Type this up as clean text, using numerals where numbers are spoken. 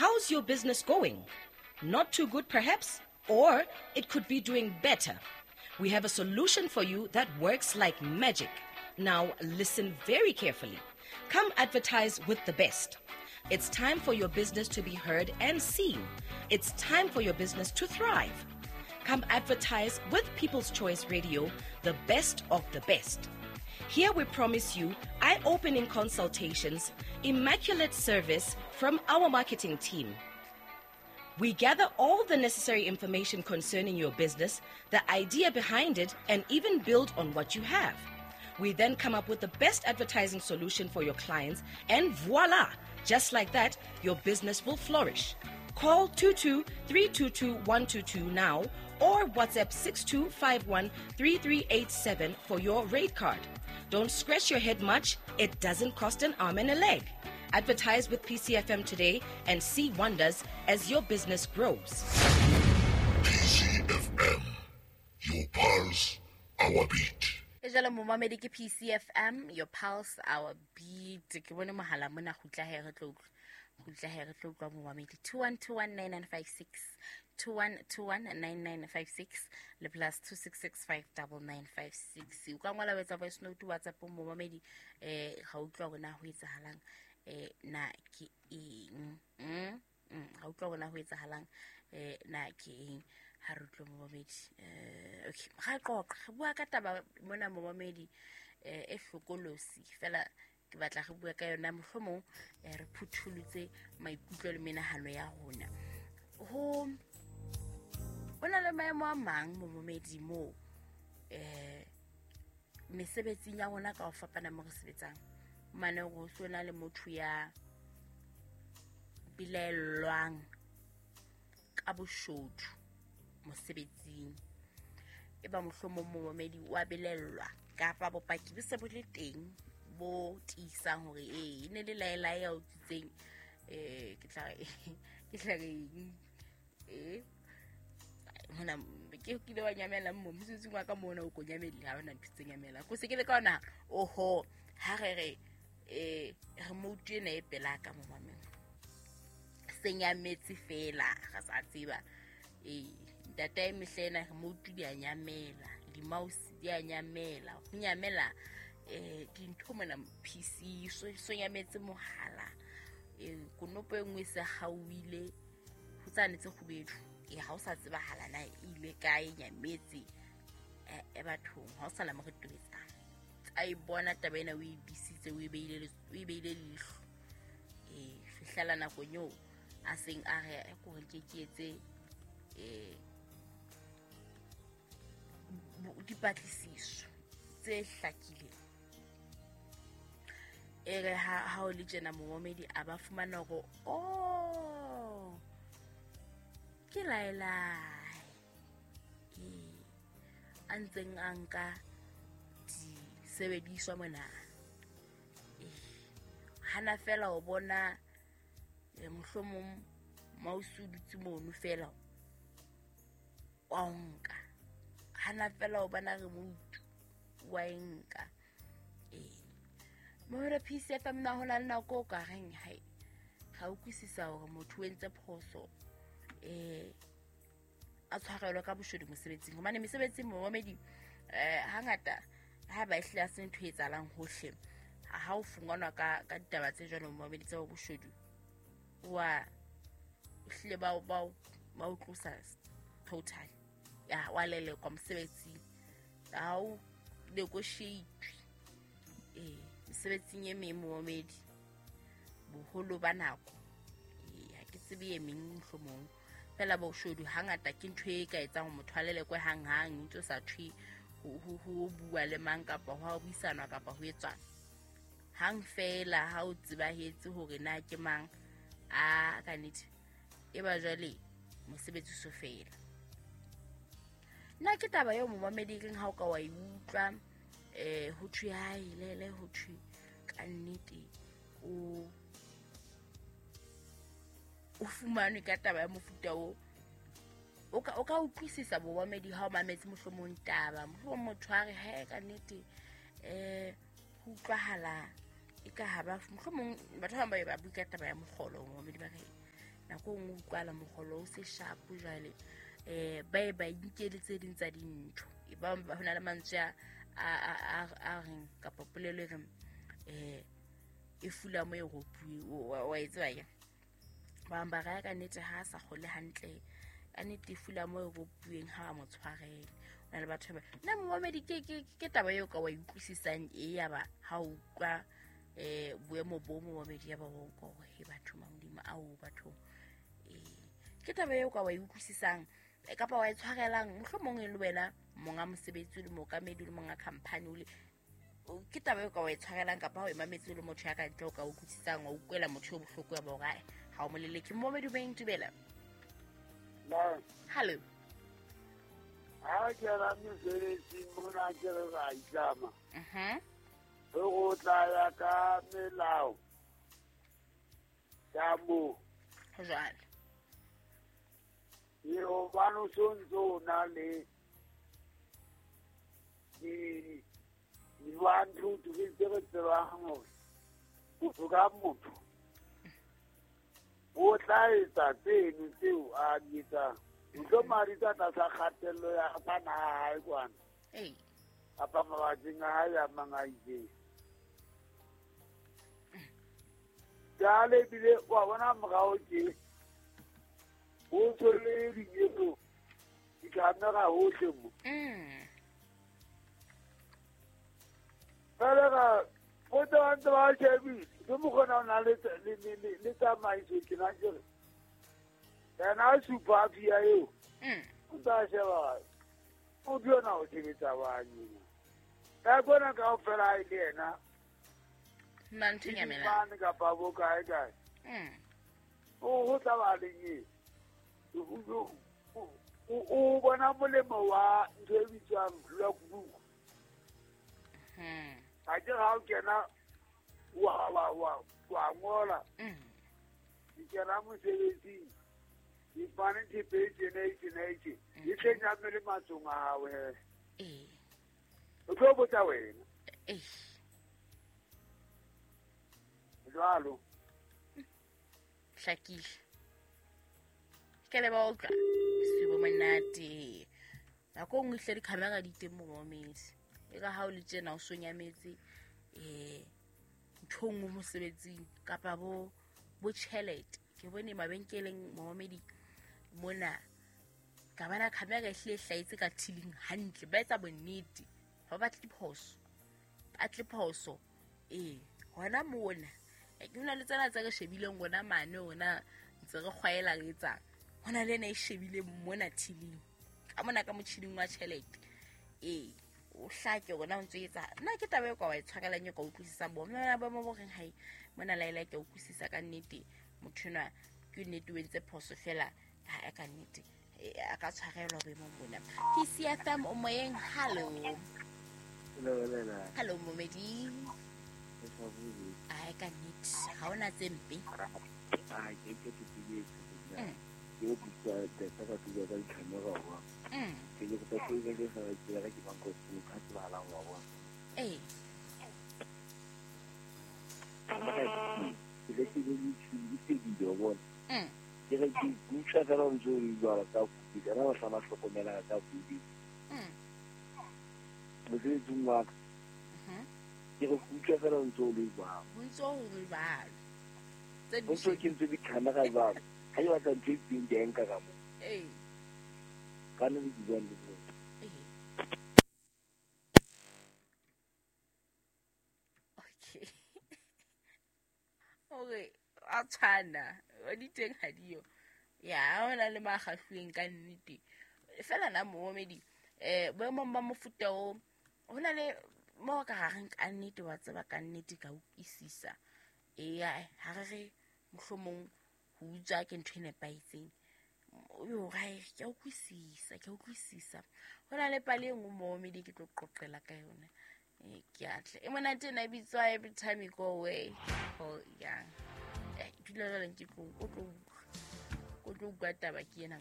How's your business going? Not too good, perhaps? Or it could be doing better. We have a solution for you that works like magic. Now, listen very carefully. Come advertise with the best. It's time for your business to be heard and seen. It's time for your business to thrive. Come advertise with People's Choice Radio, the best of the best. Here we promise you eye opening consultations, immaculate service from our marketing team. We gather all the necessary information concerning your business, the idea behind it, and even build on what you have. We then come up with the best advertising solution for your clients, and voila! Just like that, your business will flourish. Call 22 322 122 now or WhatsApp 6251 3387 for your rate card. Don't scratch your head much, it doesn't cost an arm and a leg. Advertise with PCFM today and see wonders as your business grows. PCFM, your pulse, our beat. E jalo momamedi ke PCFM, your pulse, our beat. Ke bone mohala mona gutla he re tlo utlwa. Gutla he re tlo utlwa momamedi 21219956 21219956 le plus 266599956. O ka ngola wetsa voice note WhatsApp momamedi ga utlwa hore na ho etsahalang na ke eng. Ga utlwa hore na ho etsahalang na ke eng. Ha re utlwe momamedi. Okay, ga qoqa re bua ka taba mona momamedi e hlokolosi fela ke batla re bua ka yona mohlomong re phuthulutse maikutlo le menahano ya rona. Ho ona le maemo a mang momamedi mo mesebetsing ya rona ka ho fapana mo re sebetsang. Mane go sona le motho ya bilellwang ka boshodu mosebetsing. E ba mohlomong momamedi wa belellwa kapa bopaki bo se bo le teng bo tiisang hore e ne le laela ya o tsitseng ke tla re mona ke kile wa nyamela mo mosebetsing wa ka mona o ko nyamele ha ona ntho tse nyamela ko se ke le ka ona oho ha re re remote ena e pela ka mo mameng se nyametse fela ga sa tseba ntate e mehlena remote di a nyamela di-mouse di a nyamela go nyamela dintho mona PC so nyametse mohala konopo e nngwe se gauile go tsane tse kgubedu ha o sa tsebahala na ile kae nyametse e bathong ha o sala mo re tobetsang a e bona taba ena o e bisitse o e beile leihlo fihlela nakong eo a seng a re ko re ke etse dipatlisiso tse hlakileng. E re ha o le tjena momamedi a ba fumana hore oh ke laelae a ntseng a nka disebediswa mona hana fela o bona mohlomong mouse o dutse mono fela wa nka hana fela o bona remote wa nka mo re PCFM na hona le nako o ka reng hai ga o kwisisa hore motho o entse phoso a tshwarelwa ka boshodu mosebetsing hobane mesebetsing momamedi hangata ha ba ehlile a se ntho e etsahalang hohle ha o funganwa ka ditaba tse jwalo momamedi tsa boshodu wa hlile ba o tlosa total ya wa lelekwa mosebetsing ha o negotiate mesebetsing e meng momamedi boholo ba nako ha ke tsebe e meng mohlomong fela boshodu hangata ke ntho e ka etsang motho a lelekwe hanghang ntse sa thwe ho bua le mang kapa ho buisanwa kapa ho etswang hang fela ha o tsebahetse hore na ke mang a ka nnete e ba jwale mosebetsi so fela. Nna ke taba eo momamedi reng ha o ka wa e utlwa ho thwe hae lele ho thwe ka nnete o fumanwe ka taba ya mofuta o o ka utlwisisa bomamedi ha o mametse mohlomong taba mohlomong motho a re he ka nnete ho utlwahala e ka ha ba mohlomong batho ba bang ba bua ka taba ya mokgolo momamedi ba re Nako nngwe utlwala mogolo o se shapo jwale ba ba inkele tse ding tsa dintho. E ba ho na le mantswe a reng kapa polelo e reng e fula mo e ropuwe wa e tseba ya. Ba ba raya ka nnete ha sa kgole hantle. Ka nnete e fula mo e ropuweng ha ba mo tshwarele. Na le batho ba nna momamedi ke taba eo ka wa utlwisisang e ya ba ha o utlwa boemo bo momamedi ya ba o utlwa hore he batho Modimo ao batho ke taba eo ka wa utlwisisang kapa wa e tshwarelang mohlomong e le wena monga mosebetsi le mookamedi le monga company o le ke taba eo ka wa e tshwarelang kapa ha o emametse le motho ya ka ntle o ka utlwisisang wa utlwela motho yo bohloko ya ba hore ha o moleleke. Momamedi o beng dumela. Hello. Ha ke ra mosebetsing mona ke re ra itlama. Go tla ya ka melao ya mo. Jwale. E hobane o sontso o na le di 1 2 3 tse re tsebang hore motho ka motho o tla etsa tseno tseo a di etsang. Ntlomari tsa tlasa kgatello ya bana hae kwana. Kapa mabakeng a hae a mang a itseng. Jwale ebile wa bona morao tje ho ntso le dinyeto di-camera hohle mo. Fela ka botsa ba ntse ba shebile ke mokgona o na le tsamaiso tjena ke re yena a supa pia eo o tla sheba o yona o sebetsa banyena ka bona kaofela ha e le yena nna ntho e nyamelang kapa bo kae kae o tla ba leng o bona molemo wa ntho e bitswang logbook. Ha ke ha o kena wa ngola ke kena mosebetsing ke fane thepe e tjena e tjena e tjena e tle nyamele matsong a hao he. O tlo botsa wena. Jwalo. Hlakile. Ke le ba utlwa. Sebo monate. Nako nngwe hle di-camera di teng mo momedi. E ka ha o le tjena o so nyametse ntho nngwe mosebetsing kapa bo tjhelete. Ke bone mabenkeleng momedi mona ka bana camera e hle hlaetse ka thiling hantle ba etsa bonnete ba batle phoso batle phoso hona mona ke hona le tsena tse re shebileng rona mane ona ntse re kgwaela re etsang hona le ena e shebileng mona thiling ka mona ka motjhining wa tjhelete o hlake rona o ntse etsa nna ke taba e ka wa e tshwarelang e ka utlwisisang bo mona ba mo reng hai mona laela ke utlwisisa ka nnete motho enwa ke nnete o entse phoso fela ha ka nnete a ka tshwarelwa boemong bona. PCFM o moyeng. Hello. Hello momedi. Ai ka nnete ha ona tse mpe. Ke re ke utlwa fela o ntse o jwala ka kudu kana ba hlama hlokomela ka kudu mosebetsing wa ka ke re utlwa fela o ntse o le jwalo o ntse o le jwalo o ntse ke ntse di-camera jwalo ha ke batla ntho e itseng ke a nka ka moo ka nne ke buang le bona. Okay. Okay, a tshwana wa di teng ha diyo ya ona le makgahlweng ka nnete fela na momedi boemong ba mofuta o hona le mo ka gareng ka nnete wa tseba ka nnete ka utlwisisa ha re re mohlomong ho utswa ke ntho e nepahetseng yo hae ke utlwisisa ke utlwisisa hona le pale e nngwe momedi ke tlo qoqela ka yona ke atle e monate ena e bitswa Every Time You Go Away oh yeah dula jwale ke tlo utlwa taba ke ena.